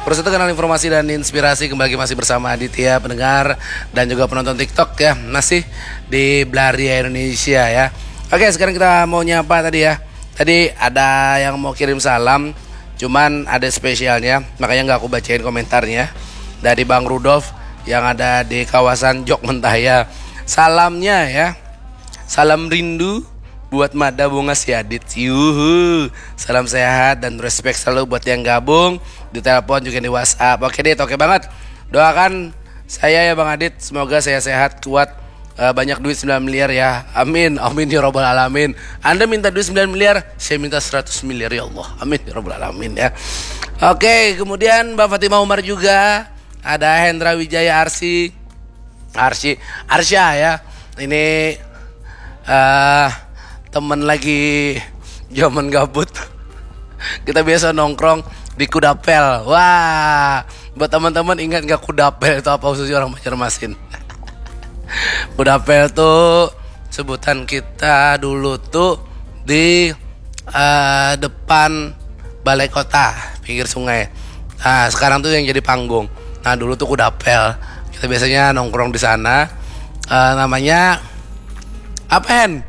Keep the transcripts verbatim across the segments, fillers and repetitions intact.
Terus itu kenal informasi dan inspirasi kembali masih bersama Aditya pendengar dan juga penonton TikTok ya, masih di Belaria Indonesia ya. Oke, sekarang kita mau nyapa tadi ya. Tadi ada yang mau kirim salam, cuman ada spesialnya, makanya nggak aku bacain komentarnya. Dari Bang Rudolf yang ada di kawasan Jok Mentaya. Salamnya ya, salam rindu buat Mada Bunga Siadit. Yuhu. Salam sehat dan respect selalu buat yang gabung di telepon juga di WhatsApp. Oke deh, oke banget. Doakan saya ya Bang Adit, semoga saya sehat, kuat, eh, banyak duit sembilan miliar ya. Amin, amin ya robbal alamin. Anda minta duit sembilan miliar, saya minta seratus miliar ya Allah. Amin ya robbal alamin ya. Oke, kemudian Mbak Fatimah Umar juga, ada Hendra Wijaya Arsi. Arsi, Arsya ya. Ini eh temen lagi zaman gabut. Kita biasa nongkrong di Kudapel. Wah, buat teman-teman, ingat nggak Kudapel itu apa, khususnya orang Banjarmasin? Kudapel tuh sebutan kita dulu tuh di eh, depan balai kota, pinggir sungai. Nah, sekarang tuh yang jadi panggung. Nah, dulu tuh Kudapel. Kita biasanya nongkrong di sana. Eh, namanya apa, Hen?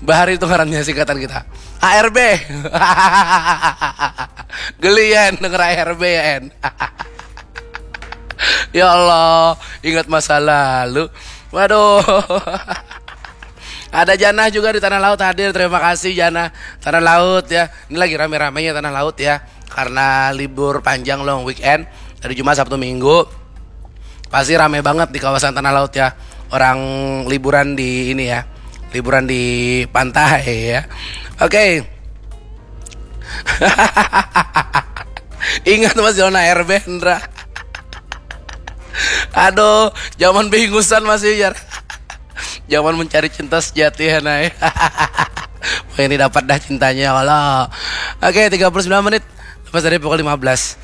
Bahari itu ngarannya, singkatan kita. A R B. Geli ya, Hen, denger A R B ya, Hen. Ya Allah, ingat masa lalu. Waduh. Ada Janah juga di Tanah Laut hadir. Terima kasih, Janah. Tanah Laut ya. Ini lagi rame-ramenya Tanah Laut ya. Karena libur panjang, long weekend, dari Jumat, Sabtu, Minggu. Pasti rame banget di kawasan Tanah Laut ya. Orang liburan di ini ya. Liburan di pantai ya. Oke. Ingat, masih zona airbender. Aduh, zaman bingusan masih, jar. Zaman mencari cinta sejati ya, Nay. Wah, ini dapat dah cintanya, Allah. Oke, tiga puluh sembilan menit lepas dari pukul lima belas.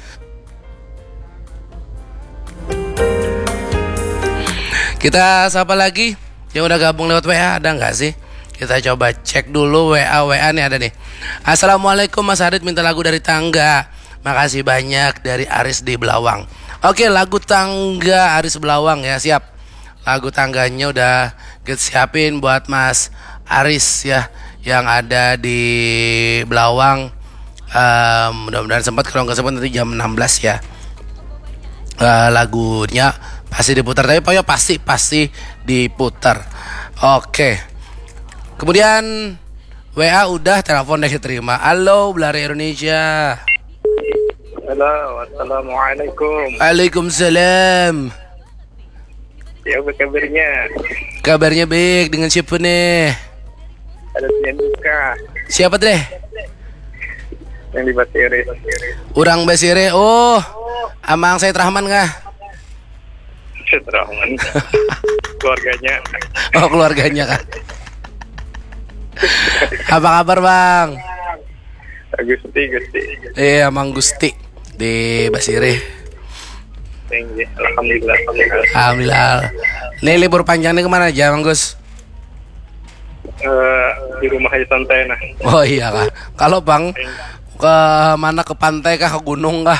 Kita sapa lagi yang udah gabung lewat W A, ada nggak sih? Kita coba cek dulu W A, W A nih ada nih. Assalamualaikum Mas Adit, minta lagu dari Tangga. Makasih banyak, dari Aris di Belawang. Oke, lagu Tangga Aris Belawang ya, siap. Lagu Tangganya udah kita siapin buat Mas Aris ya, yang ada di Belawang. Em, mudah-mudahan sempat, kalau nggak sempat nanti jam enam belas ya. Eh, lagunya pasti diputar, tapi pokoknya pasti, pasti diputar. Oke. Kemudian W A udah, telepon deh terima. Halo, Belaria Indonesia. Halo, assalamualaikum. Waalaikumsalam. Ya, apa kabarnya? Kabarnya baik, dengan siapa nih? Ada Dian Duka. Siapa teh? Yang di Basiri. Orang Basiri. Oh, Amang Said Rahman kah? Said Rahman. Keluarganya. Oh, keluarganya kah? Apa kabar, Bang? Gusti, Gusti. Iya, Mang Gusti di Basiri. Tinggi. Alhamdulillah. Alhamdulillah. Ini libur panjang nih kemana aja, Mang Gus? Eh, di rumah aja santai, nah. Oh iya kah? Kalau Bang, ke mana, ke pantai kah, ke gunung kah?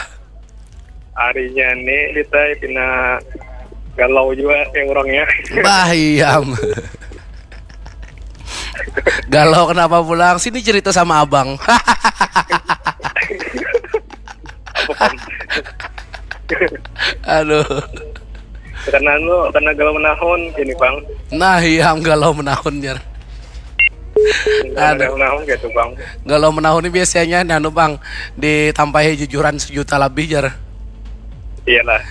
Harinya nih kita pina galau juga kayak orangnya. Bah, iya. Galau kenapa pulang? Sini cerita sama abang. Apa, Bang? Aduh. Karena lu, karena galau menahun gini, Bang. Nah, iya, galau menahun, jar. Galau menahun gitu, Bang. Galau menahun ini biasanya anu, Bang, ditampahi jujuran sejuta lebih, jar. Iyalah.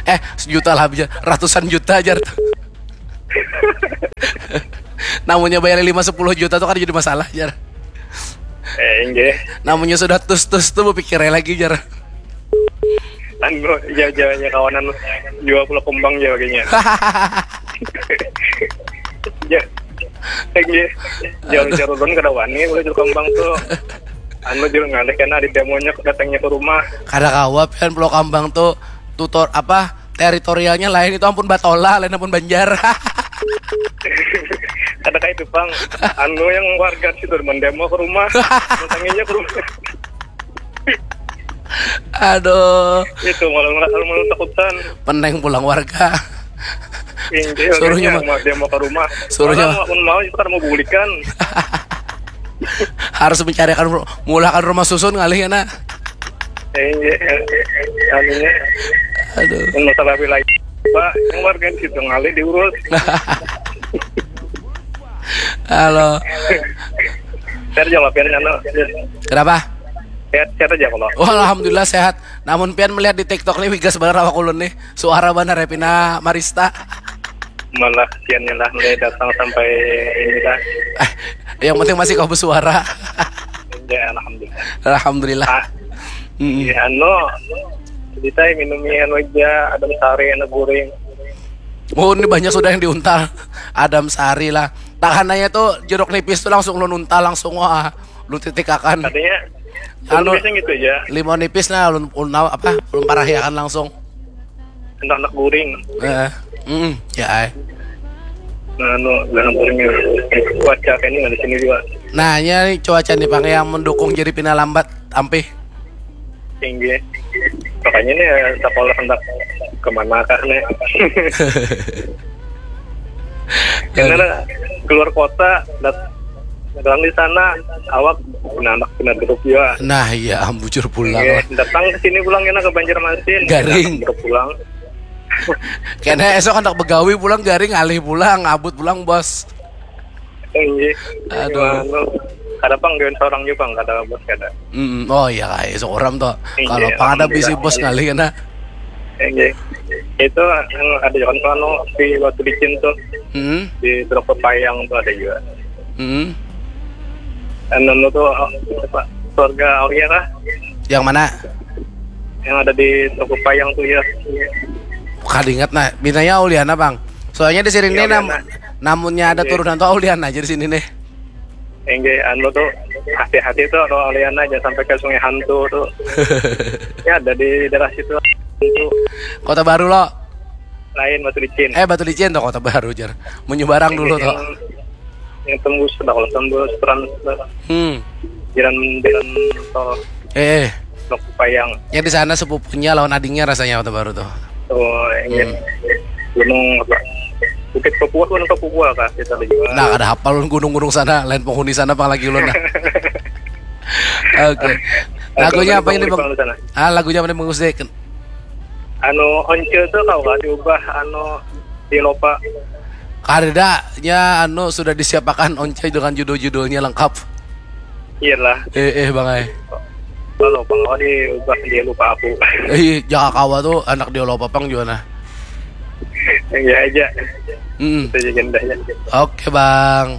Eh, sejuta lebih, jar. Ratusan juta, jar. Namanya bayar lima sepuluh juta tuh kan jadi masalah, jar. Eh, inggih. Namanya sudah tus-tus tuh berpikirnya lagi, jar. Anu, jauh-jauhnya kawanan jual pulau kembang jauh kayaknya. Ya. Inggih. Jauh-jauh ulun kada wani, udah jual kembang tuh. Anu, jual ngalih karena ada demonya datangnya ke rumah. Kada kawa pian, pulau kambang tuh tutor apa, teritorialnya lain, itu ampun Batola, lain ampun Banjar. Kada kayak itu, Bang. Anu, yang warga situ mendemo ke rumah. Datangnya ke rumah. Aduh. Itu malah malah malah takutan. Peneng pulang warga. Inggih, Suruhnya makanya ma- mau dia mau ke rumah. Suruhnya Malah mau mau itu kan mau bulikan. Harus mencarikan ru- mulakan rumah susun ngalih ya nak. Inggih, anunya Aduh. Yang masalah wilayah. Pak, yang warga di situ ngalih diurus. Halo. Saya jawab ya, anu. Kenapa? Sehat, sehat aja kalau. Wah, alhamdulillah sehat. Namun pian melihat di TikTok nih wigas banar awak ulun nih. Suara banar ya pina marista. Malah kiannya lah mulai datang sampai ini lah. Eh, yang penting masih kau bersuara. Ya, alhamdulillah. Alhamdulillah. Ah, Mm-mm. Ya, anu, cerita minum anu aja, ada sari, ada goreng. Oh, ini banyak sudah yang diuntal. Adam sari lah. Tahanannya tuh jeruk nipis tuh langsung lu nuntal langsung wah. Lu titikakan. Katanya, Anu- anu, biasanya gitu aja. Limau nipis nah ulun ulun apa? Ulun parahiakan langsung. Anak-anak goreng. Eh, mm, ya ai. Nah, anu, jangan goreng. Cuaca kayak ini nggak di sini juga. Nah, ini cuaca nih Pang yang mendukung jadi pina lambat ampih. Tinggi. Makanya nih, sekolah hendak kemana kah nih? Karena keluar kota, dat datang di sana, awak anak kena grup juga. Nah, iya, bujur pulang Iya, lah. Datang ke sini pulang kena ke Banjarmasin. Garing. Grup pulang. Kena esok hendak begawi pulang garing alih pulang abut pulang bos. Tinggi. Aduh. Anu, kada pang gawian seorang juga pang kada bos kada. Mm, oh iya kai seorang tuh. Iya, Kalau pang ada bisi alhamdulillah. Bos ngalih kena. Tinggi. Itu yang ada juga kan anu di Batu Licin tuh Hmm, di Teluk Pepayang tuh ada juga. hmm. Anu tuh apa? Keluarga Aulia kah? Yang mana? Yang ada di Teluk Pepayang tuh ya. Kada ingat nah. Binanya Auliana bang. Soalnya di sini Iya, nih nam Auliana. Namunnya ada Iya. Turunan tuh Auliana aja di sini nih. Tinggi anu tuh hati-hati tuh kalau Auliana jangan sampai ke Sungai Hantu tuh. Ya ada di daerah situ. Itu Kota Baru lo. Lain Batu Licin. Eh Batu Licin tuh Kota Baru jar. Menyebarang dulu tuh. Yang, yang tembus sudah kalau tembus trans Hmm. jalan jalan tol Eh, eh. Teluk Pepayang. Ya di sana sepupunya lawan adingnya rasanya Kota Baru tuh. Oh, ini Hmm. gunung apa? Bukit Papua, Gunung Papua kah kita lagi. Nah, kada hafal gunung-gunung sana, lain penghuni sana apalagi ulun nah. Oke. Lagunya apa ini Bang? Di sana. Ah, lagunya apa nih Bang Gusde? Anu Once tuh kau kah diubah anu di Lopa. Kada, nya anu sudah disiapakan Once dengan judul-judulnya lengkap. Iyalah. Eh, eh Bang ai. Kalau Bang Odi ubah dia lupa aku. Eh, Jaka Kawa tuh anak dia lo papang juga nah. Iya aja. Hmm. Itu aja gendahnya. Oke Bang.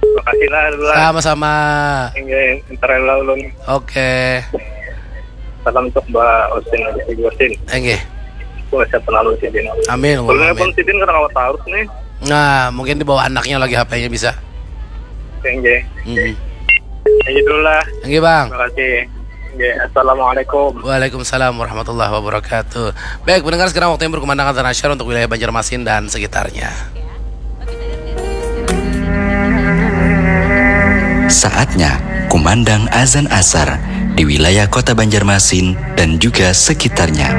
Makasih lah dulu lah. Sama-sama. Enggak, ntar lah ulun. Oke. Salam untuk Mbak Osin, Mbak Osin. Enggih. Gua siapa lalu sidin. Amin. Ulun Amin. pun sidin karena kau taruh nih. Nah, mungkin dibawa anaknya lagi H P-nya bisa. Enggak. Hmm. Aja dulu lah. Enggih Bang. Terima kasih. Enggak. Assalamualaikum. Waalaikumsalam warahmatullahi wabarakatuh. Baik, pendengar sekarang waktunya berkumandang azan asyar untuk wilayah Banjarmasin dan sekitarnya. Saatnya kumandang azan asar di wilayah kota Banjarmasin dan juga sekitarnya.